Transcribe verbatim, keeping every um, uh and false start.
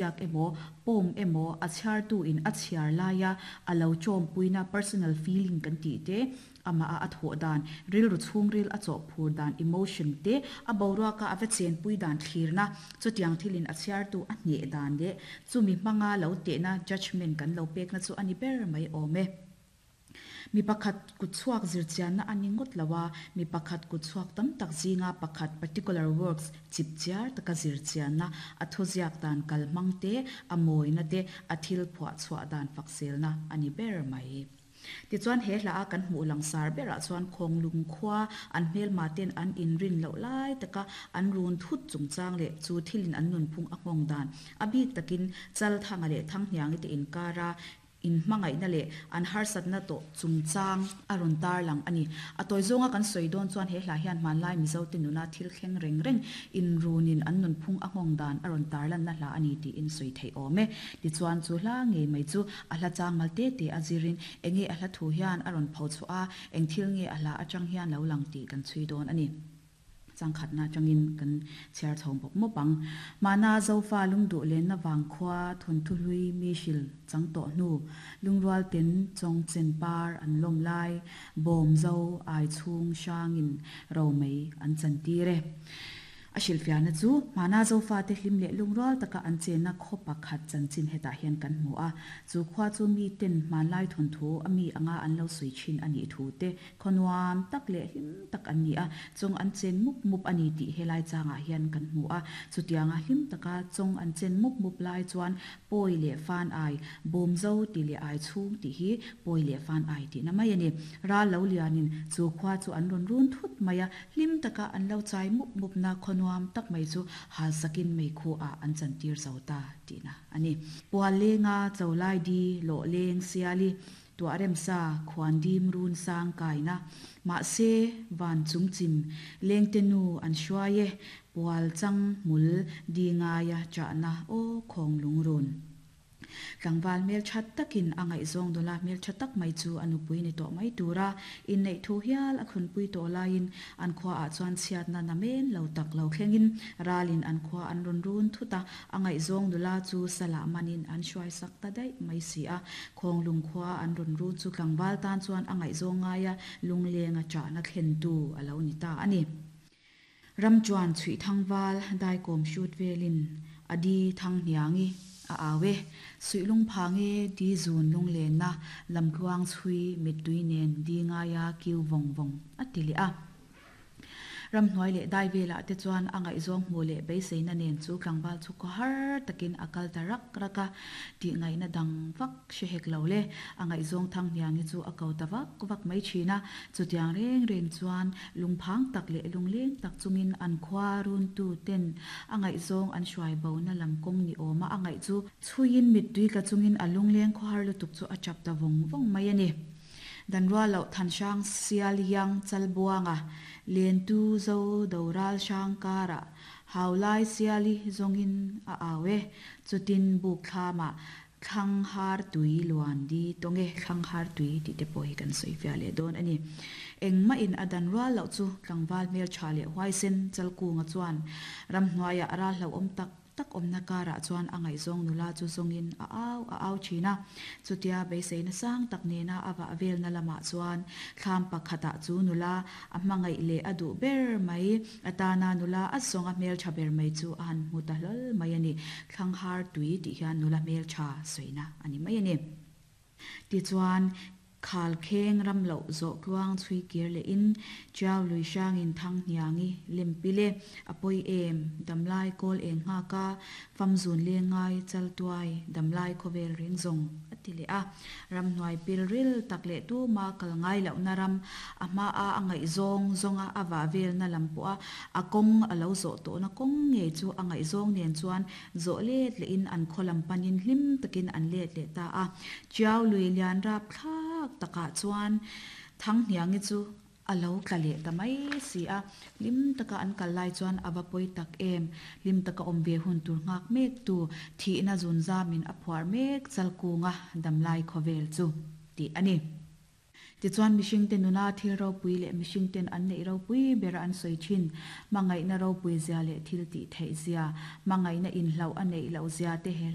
Ziak emaw, poem emaw a chhiartu in a chhiar laia a lo chawmpuina personal feeling kan tih te, amaha a thawh dan, rilru chhungril a chawhphur dan emotion te, a boruaka a va chenpui dan thlirna, chutiang thilin a chhiartu a hneh dan leh chumi hmanga lo tehna judgement kan lo pekna chu a ni ber mai awm e. Mi pakhat kutchhuak zirchianna a ni ngawt lo a, mi pakhat kutchhuak tam tak zinga pakhat particular works chipchiar taka zirchianna, a thuziak dan kalhmang te, a mawina te, a thil phuah chhuah dan fakselna a ni ber mai. Tichuan he hla a kan hmuh langsar berah chuan Khawnglung khua an hmelma ten an inrin loh lai taka an run thut chungchang leh chu thilin an nunphung a nghawng dan a bik takin Chalthanga leh Thanghniangi te inkara In hmangaihna leh an harsatna tawh chungchang a rawn tarlang a ni. A tawi zawnga kan sawi dawn chuan he hla hian hmanlai Mizote nuna thil thleng reng reng inrunin an nunphung a nghawng dan a rawn tarlanna hla a ni tiin sawi theih awm e. Tichuan chu hla ngei mai chu a hla chang mal te te a zirin enge a hla thu hian a rawn pho chhuah a, eng thil nge a hla atang hian lo lang tih kan chhui dawn a ni. Changkhatna atangin kan chhiar chho bawk mawp ang. Mahna Zofa lungduh lenna vang khua thawnthu hlui mi hril chang tawh hnu, lungrual ten chawng chen par an lawm lai, bawm zo ai chhung hrangin ro mai an chan tir e. A hrilhfiahna chu hmana Zofate hlim leh lungrual taka an chenna khaw pakhat chanchin hetah hian kan hmu a. Chu khua chu miten hmanlai thawnthu a mi anga an lo sawi thin a nih thu te, khaw nuam tak leh hlim tak an ni a, chawng an chen mup mup a ni tih helai changah hian kan hmu a. Chutianga hlim taka chawng an chen mup mup lai chuan pawi leh fan ai, bawm zo tih leh ai chhung tih hi pawi leh fan ai tihna mai a ni. Ral lo lianin chu khua chu an rawn run thut mai a, hlim taka an lo chai mup mupna khaw nuam tak mai chu halsakin meikhu ah an chantir zo ta tihna a ni. Pual lenga Cholai di lawh leng siali tuah remsa khuan dim run sang kaina mahse van chung chim lengte nu an hruai e pual chang hmul di ngaia chahna aw khawng lungrun. Tlangval hmeltha takin a ngaihzawng dawla hmeltha tak mai chu a nupui ni tawh mai tura inneih thu hial a khunpui tawh laiin an khuaah chuan chhiatna na men lo tak lo thlengin ralin an khua an rawn run thut a, a ngaihzawng nula chu salah manin an hruaisak ta daih mai si a. Khawnglung khua an rawn run chu tlangval tan chuan a ngaihzawng ngaia lunglenga chahna thlentu a lo ni ta a ni. Ram chuan chhuih thangval daikawm hrut velin a di Thanghniangi a au e. Suih lungphang e di zun lunglenna lamtluang chhui mittui nen di ngaia kiu vawng vawng a ti leh a. Ramhnuai leh dai velah te chuan a ngaihzawng hmuh leh beiseina nen chu tlangval chu khaw har takin a kal ta rak rak a, tih ngaihna dang vak hre hek lo le. A ngaihzawng Thanghniangi chu a ko ta vak vak mai thin a, chutiang reng reng chuan lungphang tak leh lungleng tak chungin an khua runtu ten a ngaihzawng an hruai bona lam kawng ni awma a ngaih chu chhuiin mittui tla chungin a lungleng khawhar lutuk chu a chap ta vawng vawng mai a ni. Dan rual loh Thanhrang Sial Iang Chalbuanga Lentu Zo Doral Hrang karah Haulai Siali zawngin a au e, chutin buk thlamah Thlanghar tui luan di tawng e, Thlanghar tui tih te pawh hi kan sawi fiah leh dawn a ni. Engmah in a dan rual loh chu tlangval hmeltha leh huaisen Chalkunga chuan ramhnuaiah a ral hlauhawm tak tak awmna karah chuan a ngaihzawng nula chu zawngin a au a au thin a. Chutia beiseina sang tak nena a vah velna lamah chuan thlam pakhatah chu nula a hmangaih leh a duh ber mai atana nula a zawng a hmeltha ber mai chu a han hmu ta hlawl mai a ni. Thlanghar tui tih hian nula hmeltha sawina a ni mai a ni. Tichuan, khal kheng ram loh zawh tluang chhui kir lehin Tiau lui hrangin thang hniangi lem pil e, a pawi em, damlai kawl eng nghak a, fam zun leng ngai chal tuai, damlai khawvel reng zawng, a ti leh a. Ramhnuai pil ril tak leh tuma kal ngai lohna ram, a hmaa a ngaihzawng zawnga a vah velna lam pawha a kawng a lo zawh tawhna kawng ngei chu a ngaihzawng nen chuan zawh let lehin an khaw lam panin hlim takin an let leh ta a. Tiau lui lian rap thlak takah chuan Thanghniangi chu a lo tla leh ta mai si a. Hlim taka an kal lai chuan a va pawi tak em? Hlim taka awm ve hun tur nghak mek tu thihna zun zamin a phuar mek Chalkunga damlai khawvel chu tih a ni. Tichuan mihringte nuna thil ropui leh mihringten an neih ropui bera an sawi thin, hmangaihna ropui zia leh thil tih theih zia, hmangaihna inhlauh a neih loh zia te he